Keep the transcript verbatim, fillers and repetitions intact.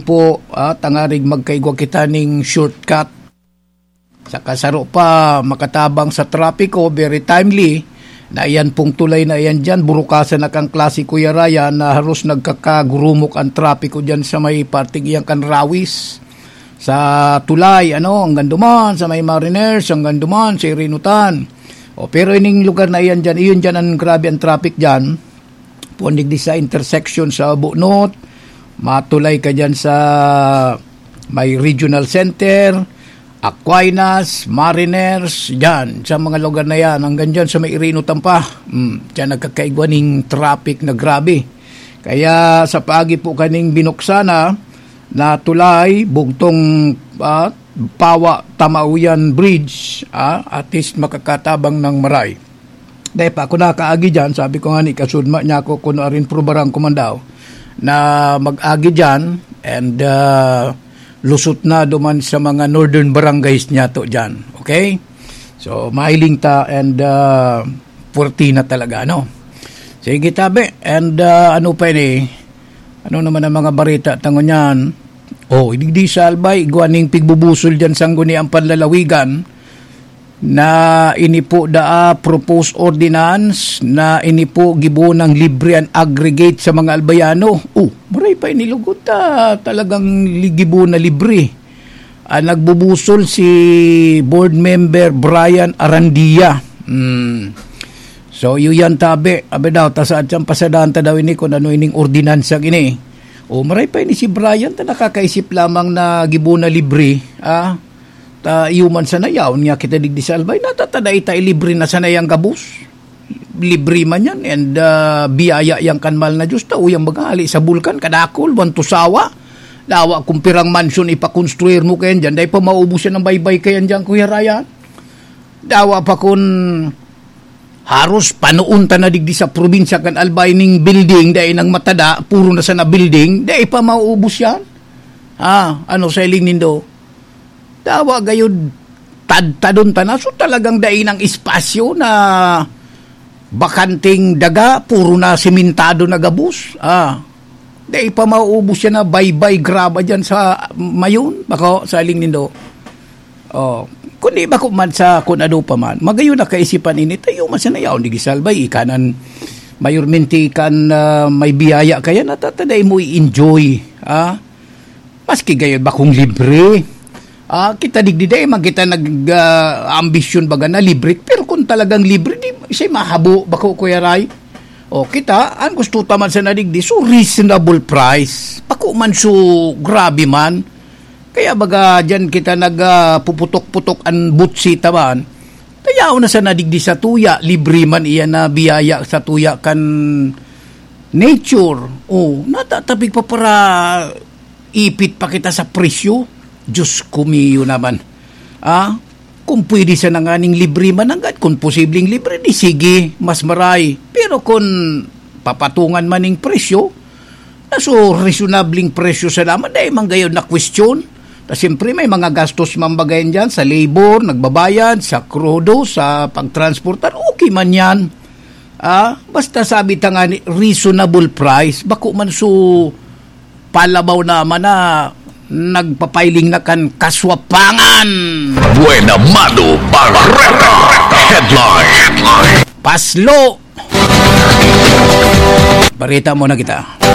po, ah, tangarig magkaigwa kita ning shortcut. Saka saro pa, makatabang sa trapiko, very timely. Na iyan pong tulay na iyan dyan, burukasan na kan klase, Kuya Ryan, na haros nagkakagurumok ang trapiko dyan sa may parting iyan kan Rawis. Sa tulay, ano, hanggang duman, sa may Mariners, hanggang duman, sa Irinutan. O, pero ining lugar na iyan dyan, iyon dyan ang grabe ang traffic dyan. Pundig di sa intersection sa Bunot, matulay ka dyan sa may regional center, Aquinas, Mariners, dyan, sa mga lugar na yan, hanggang dyan sa may Irinutan pa. Mm, dyan nagkakaigwa ning traffic na grabe. Kaya sa paagi po kaning binuksan na, na tulay, bugtong, ah, Pawa Tamauyan Bridge, ah, at least makakatabang ng maray. Dahil pa ako nakaagi dyan, sabi ko nga ni, kasudma niya ako kung arin prubarang kumandaw na mag-agi dyan and, ah, lusot na duman sa mga northern barangays niya to dyan. Okay? So, mahiling ta and, ah, puwerti na talaga, no? Sige, tabi. And, ah, ano pa ini? Ano naman ang mga barita tango niyan? Oh, digdi sa Albay, igwa ning pigbubusol dyan sa Sangguniang Panlalawigan na ini po daa proposed ordinance na ini po gibo ng libre an aggregate sa mga Albayano. Oh, maray pa ini lugod ta talagang li-, gibo na libre. Ah, nagbubusol si Board Member Brian Arandia. Hmm. So, iyo yan, tabi. Abi daw, ta saan siyang pasadahan ta daw ini kung ano ining ordinansa ini. O, maray pa ini si Brian, ta nakakaisip lamang na gibo na libre. Ah, ta iyo man sana yaon nga kita digdi sa Albay. Natatada ita libre na sana yang gabos. Libre man yan. And, ah, biyaya yang kan mahal na Diyos. Ta, uyang maghali sa bulkan, kadakol, wan tusawa. Dawa kung pirang mansyon ipakonstruir mo kayan dyan. Dahil pa maubos yan ang baybay kayan dyan, Kuya Ryan. Dawa pa kun haros panoon ta na digdi sa probinsya kan Albay ning building, dai nang matada, puro na sana building, dai pa mauubos yan. Ah, ano sa hiling nindo? Dawa gayud tadtadon ta na. So, talagang dai nang espasyo na bakanting daga, puro na simentado na gabos. Ah, dai pa mauubos yan na baybay graba dyan sa Mayon, bako, sa hiling nindo. Oh, kundi bako man sa kun ano pa man, magayon na kaisipan ini, tayo man sa nayaw ni Gisalbay, ikanan mayormente kan, ah, may biyaya kaya natataday mo i-enjoy, ah? Maski gayon bakong libre. Ah, kita digdi, dai man kita nag, ah, ambisyon baga na libre, pero kung talagang libre, di siya mahabo, bako, Kuya Ray. O, kita, ang gusto ta man sa nadigdi, so reasonable price. Bako man so grabe man. Kaya baga, dyan kita nag, ah, puputok-putok an butsi ta man. Tayaw na sa nadigdi sa tuya, libre man iyan na biyaya sa tuya kan nature. O, natatapig pa para ipit pa kita sa presyo. Diyos ko, miyo naman. Ah, kung pwede sana nganing libre man nanggad, kung posibleng libre, di sige, mas maray. Pero kung papatungan man ning presyo, na so reasonabling presyo sa naman, dahil man gayon na question. Ta siyempre, may mga gastos man bagayan dyan, sa labor, nagbabayad, sa krudo, sa pagtransportar, okay man yan. Ah, basta sabi ta nga ni, reasonable price, bako man so palabaw naman na nagpapailing na kan kaswapangan. Buena Mano Barreta Headline. Paslo. Barita mo na kita.